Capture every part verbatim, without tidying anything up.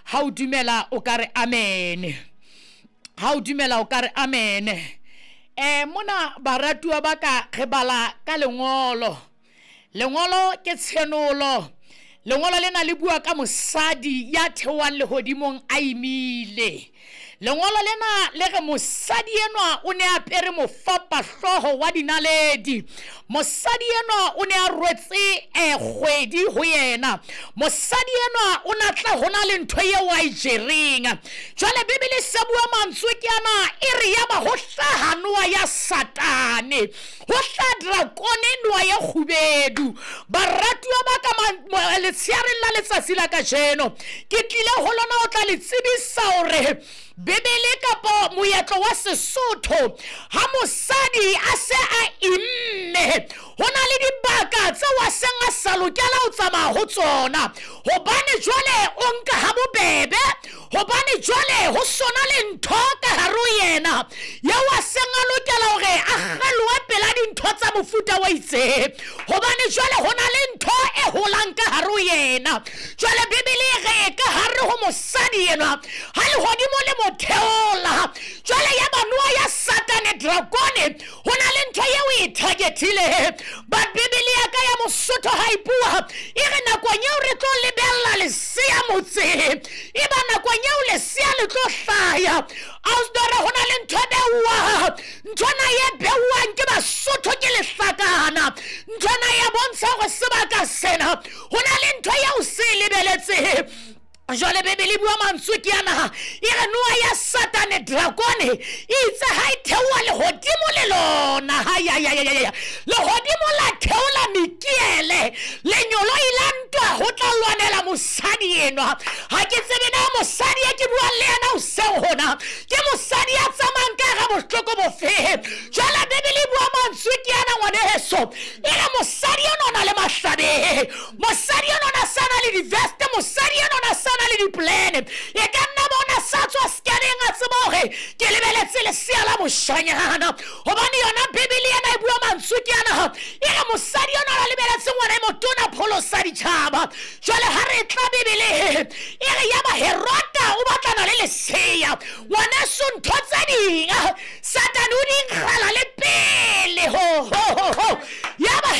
Ha o dumela o ka re amen. Ha o dumela o ka re amen. Eh mona baratuwa ba ka re bala ka lengolo. Lengolo ke tshenolo. Lengolo lena le bua ka mosadi ya theohang lehodimong a imile. Lengolo lena le re mosadi enwa o ne a apere mofapahloho wa dinaledi. Mosadi enwa o ne a rwetse eh kgwedi ho yena. Mosadi enwa o na tla hona le ntho eo a e jereng. Jwale Bibele se bua mantswe ke ana, e re ya ba ho hlaha noa ya Satane, ho hlaha drakone noa ya kgubedu. Baratuwa ba ka letsheareng la letsatsi la kajeno, ke tlile ho lona ho tla le tsebisa hore Bibele kapa moetlo wa Sesotho, ha mosadi a se a imme, ho na le dibaka tseo a seng a sa lokela ho tsamaya ho tsona, hobane jwale o nka ha bobebe, hobane jwale ho sona le ntho ka hare ho yena eo a seng a lokela hore a kgelohe pela dintho tsa mofuta wa itseng, hobane jwale ho na le ntho e holang ka hare ho yena. Jwale Bibele e re ka hare ho mosadi enwa, ha lehodimo le mo theola, jwale ya ba noa ya Satane drakone, ho na le ntho eo e targetile. But Bibele ya ka ya Mosotho ha e bua, e re nakong eo re tlo lebella lesea motseng, e ba nakong eo lesea le tlo hlaya. Ausdora ho na le ntho e beuwang, nthwana e beuwang ke Basotho ke lehlakana. Nthwana ya bontsha hore sebaka sena ho na le ntho eo se e lebeletseng. Jwale Bibele e bua mantswe ke ana, e re noa ya Satane drakone e itse ha e theoha lehodimo le lona, ha ya ya ya ya, lehodimo la theola Mikiele, lenyoloi la ntwa ho tla lwanela mosadi enwa. Ha ke tsebe na mosadi e ke buang le yena hoseng hona ke mosadi ya tsamayang ka hara bohloko bofe. Jwale Bibele e bua mantswe ke ana, ngwaneso, e re mosadi enwa o na le mahlabe, mosadi enwa o na sa na le diveste, mosadi enwa o na sa na le diplane. E ka nna bona sa tswa scanning a tseba hore ke lebeletse lesea la moshanyana, hobane yona Bibele ena e bua mantswe ke ana, e re mosadi enwa o na lebeletse ngwana e motona pholosa ditjhaba. Jwale ha re tla Bibele e re ya ba Herota o batlana le lesea. Ngwaneso, ntho tse ding Satane o di nkgala le pele ho ho ho ho. Ya ba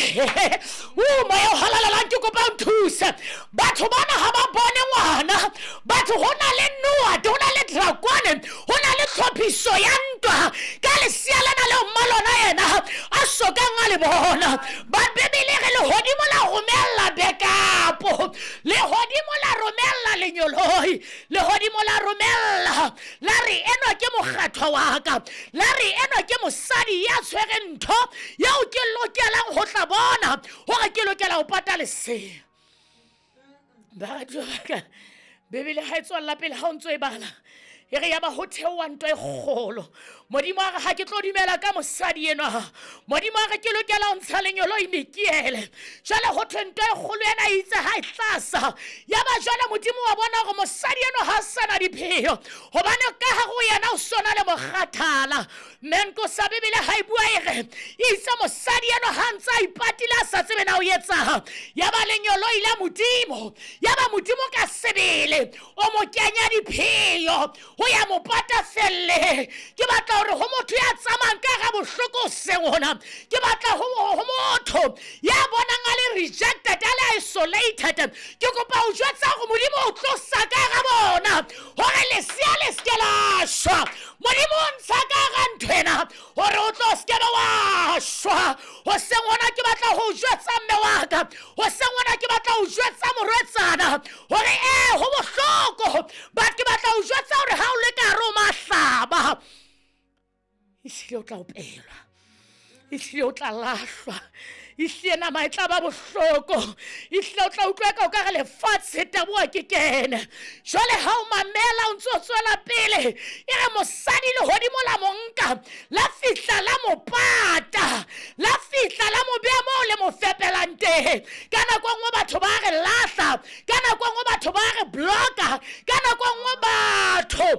o moya o halalelang, ke kopa o nthuse. Batho bana ha ba bone ngwana, batho ho na le noa, ho na le drakone, ho na le tlhophiso ya ntwa ka lesea lena leo mmalona yena a sokang a le bona. Ba Bibele re lehodimo la romella bekapo, lehodimo la romella lenyoloi, lehodimo la romella la re enwa ke mokgathwa wa ka, la re enwa ke mosadi ya tshwereng ntho eo ke lokelang ho tla bona hore ke lokela ho pata lesea. Baratuwa ba ka, Bibele ha e tswella pele ha o ntso e bala, e re ya ba ho theoha ntwa e kgolo. Modimo a re ha ke tlo dumela ka mosadi enwa, Modimo a re ke lokela ho ntsha lenyoloi Mikiele. Jwale ho thwe ntwa e kgolo ena e itse ha e tlasa, ya ba jwale Modimo wa bona hore mosadi enwa ha sa na dipheo, hobane ka hare ho yena o sona le mokgathala. Mme sa Bibele ha e bua e re itse mosadi enwa ha ntse a ipatile a sa tsebe na o etsang, ya ba lenyoloi la Modimo, ya ba Modimo ka sebele o mo kenya dipheo ho ya mo pata felle. Ke batla hore ho motho ya tsamayang ka hara bohloko hoseng hona, ke batla ho ho motho ya bonang a le rejected, a le isolated, ke kopa ho jwetsa hore Modimo o tlosa ka hara bona hore lesea le se ke la shwa. Modimo o ntsha ka hara ntho ena hore o tlo se ke be wa shwa. Hoseng hona ke batla ho jwetsa mme wa ka, hoseng hona ke batla ho jwetsa morwetsana hore eh ho bohloko, but ke batla ho jwetsa hore ha o le ka hare ho mahlaba, ehlile o tla opelwa, ehlile o tla lahlwa, ehlile nama e tla ba bohloko, ehlile o tla utlwa ka o ka re lefatshe taboha ke kene. Jwale ha o mamela o ntso tswela pele, e re mosadi lehodimo la mo nka, la fihla la mo pata, la fihla la mo beha moo le mo fepelang teng. Ka nako e nngwe batho ba re lahla, ka nako e nngwe batho ba re blocka, ka nako e nngwe batho